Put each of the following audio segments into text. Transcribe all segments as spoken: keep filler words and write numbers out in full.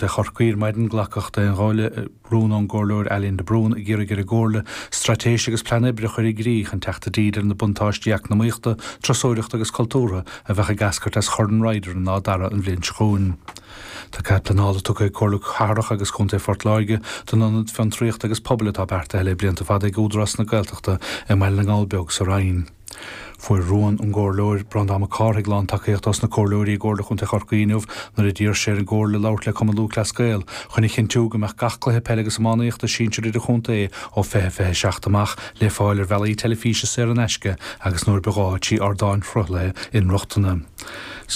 Chorcaí ar maidin glacadh d'aon ghuth le rún ón gcomhairleoir Eileen de Brún ag iarraidh ar an gComhairle straitéis agus plean oibre a chur i gcrích chun teacht i dtír ar na buntáistí eacnamaíochta, turasóireachta agus cultúrtha a bheadh ag eascairt as Chorn Ryder in Áth Dara an bhliain seo chugainn. Tá cead pleanála tugtha ag Comhairle Cathrach agus Contae Phort Láirge don ionad fiontraíochta agus pobail atá beartaithe le blianta fada ag Údarás na Gaeltachta i mBaile na nGall Beag sa Rinn. Fuair rún ón gcomhairleoir Breandán Mac Cárthaigh lántacaíocht ós na comhairleoirí i gComhairle Chontae Chorcaí inniu nuair a d'iarr sé ar an gcomhairle labhairt le Cumann Lúthchleas Gael chun a chinntiú go mbeadh gach cluiche peile agus iománaíochta sinsir idirchontae ó fiche fiche seacht amach le fáil ar bhealaí teilifíse saor in aisce agus nuair ba ghá trí ardáin sruthlaithe inrochtana.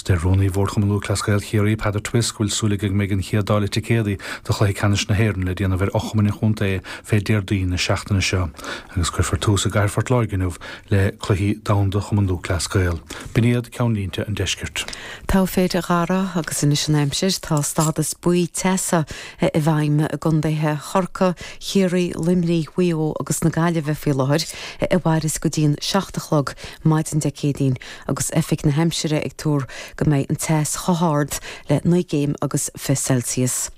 Deir rúnaí Bhord Chumann Lúthchleas Gael Chiarraí Peadar Twiss go bhfuil súil aige go mbeidh an chéad dáileadh ticéadaí do chluiche ceannais na hÉireann le déanamh ar fhochumainn an chontae fé Déardaoin na seachtaine seo, agus cuirfear tús i gCathair Phort Láirge inniu le cluichí domhanda Chumann Lúthchleas Gael. B'in iad ceannlínte an deiscirt. Tá féidir gara agus anois an aimsir tá stádas buí teasa i bhfeidhm i gcontaetha Chorcaí, Chiarraí, Luimnigh, Mhaigh Eo agus na Gaillimhe faoi láthair a mhairfidh go dtí an seacht a chlog maidin Dé Céadaoin agus oifig na haimsire ag tuar go mbeidh an teas chomh hard le naoi gcéim agus fiche Celsius.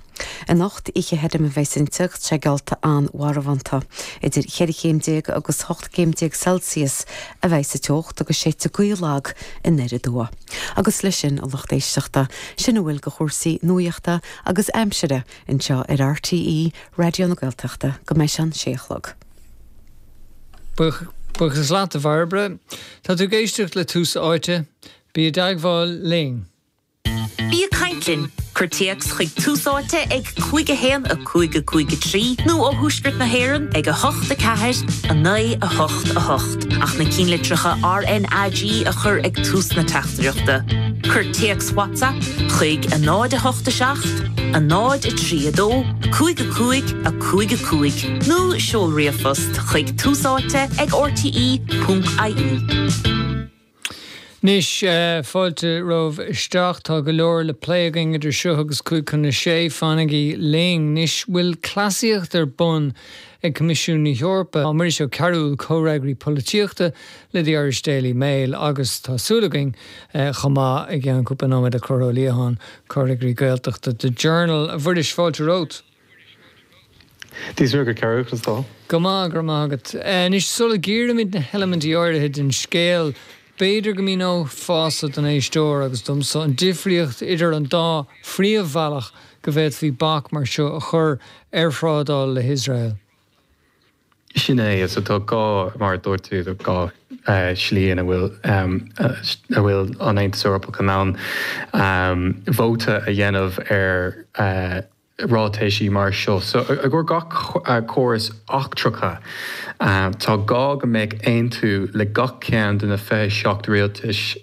Anocht oíche thirim a bheidh inti segealta an-mharbhánta. Idir cheithre chéim déag agus ocht gcéim déag Celsius a bheidh sa teocht agus séidfidh gaoth lag aniar aduaidh. Agus leis sin a lucht éisteachta sin a bhfuil de chúrsaí nuachta agus aimsire anseo ar RTÉ Raidió na Gaeltachta go mbeidh an sé a chlog. Buíochas leat a Bhairbre, Tá tú ag éisteacht le Tús Áite, bí i dteagmháil linn. Bí ag caint linn, cuir téacs chuig Tús Áite ag cúig a haon a cúig a cúig a trí nó ó Thuaisceart na hÉireann ag a hocht a ceathair a naoi a hocht a hocht ach na cinnlitreacha RNAG a chur ag tús na teachtaireachta. Cuir téacs WhatsApp chuig a náid a hocht a seacht, a náid a trí a dó, cúig a cúig a cúig a cúig nó seol ríomhphost chuig túsáite ag RTE.ie. Anois uh, fáilte romhaibh isteach tá go leor le plé againn idir seo agus cúig chun a sé fanaigí linn anois bhfuil cleasaíocht ar bun ag Coimisiún na hEorpa Muiris Ó Cearúil comhfhreagraí polaitíochta le The Irish Daily Mail agus tá súil againn uh, chomh maith i gceann cúpla nóiméad le Conchúr Ó Liatháin comhfhreagraí Gaeltachta The Journal a Mhuiris fáilte romhat. Dís go ceú Go maith go maith agat. Anois sula gcíoraimid na heilimintí áirithe den scéal B'fhéidir go míneofá don éisteoir agus domsa an difríocht idir an dá phríomhbhealach go bhféadfaí bac mar seo a chur ar thrádáil le hIosrael. Sin é so tá dhá mar dúirt tú dhá slí ina bhfuil a bhfuil an Aontas Eorpach in ann vóta a dhéanamh ar ráitisí mar seo. So i gcomhair gach córas eachtracha tá gá go mbeidh aontú le gach ceann de na fiche seacht rialtais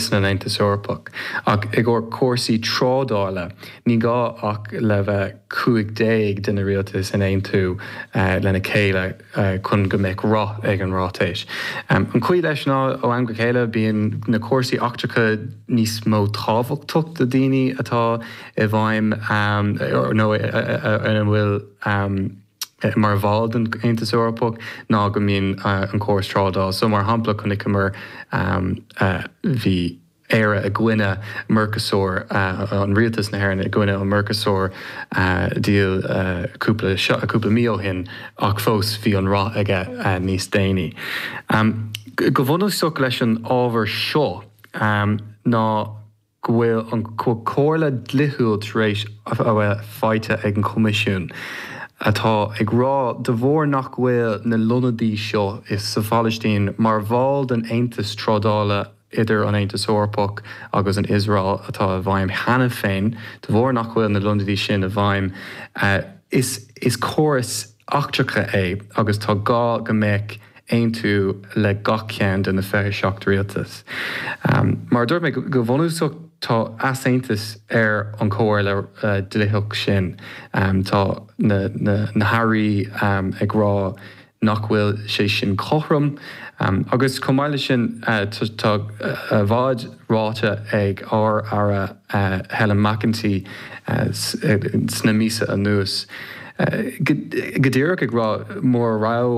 san Aontas Eorpach. Ach i gcomhair cúrsaí trádála ní gá ach le bheith cúig déag de na rialtais in aontú lena chéile chun go mbeidh rath ag an ráiteas. An chaoi leis ná ó am go chéile bíonn na cúrsaí eachtracha níos mó tábhachtach do daoine atá i bhfeidhm nó ina bhfuil mar bhall den Aontas Eorpach ná go mbíonn an córas trádála. So mar shampla chonaiceamar bhí Éire i gcoinne Mercosur an rialtas na hÉireann i gcoinne an Mercosur deal cúpla cúpla mí ó shin ach fós bhí an rath aige níos déanaí. Go bunúsach leis an ábhar seo ná go bhfuil an comhairle dlíthiúil tar éis a bheith faighte ag an Coimisiún atá ag rá de bharr nach bhfuil na lotnaidí seo is sa Phalaistín mar bhall den Aontas trádála idir an Aontas Eorpach agus an Iosrael atá i bhfeidhm cheana féin de bharr nach bhfuil na lotnaidí sin i bhfeidhm is is córas eachtracha é agus tá gá go mbeadh aontú le gach ceann de na fiche seacht rialtas. Mar dúirt mé go bunúsach tá easaontas ar an chomhairle dlíthiúil sin tá na, na, na hairí ag rá nach bhfuil sé sin cothrom agus chomh maith leis sin tá i bhfad ráite ag ár Aire Helen McEntee sna míosa anuas. Go díreach ag rá mura raibh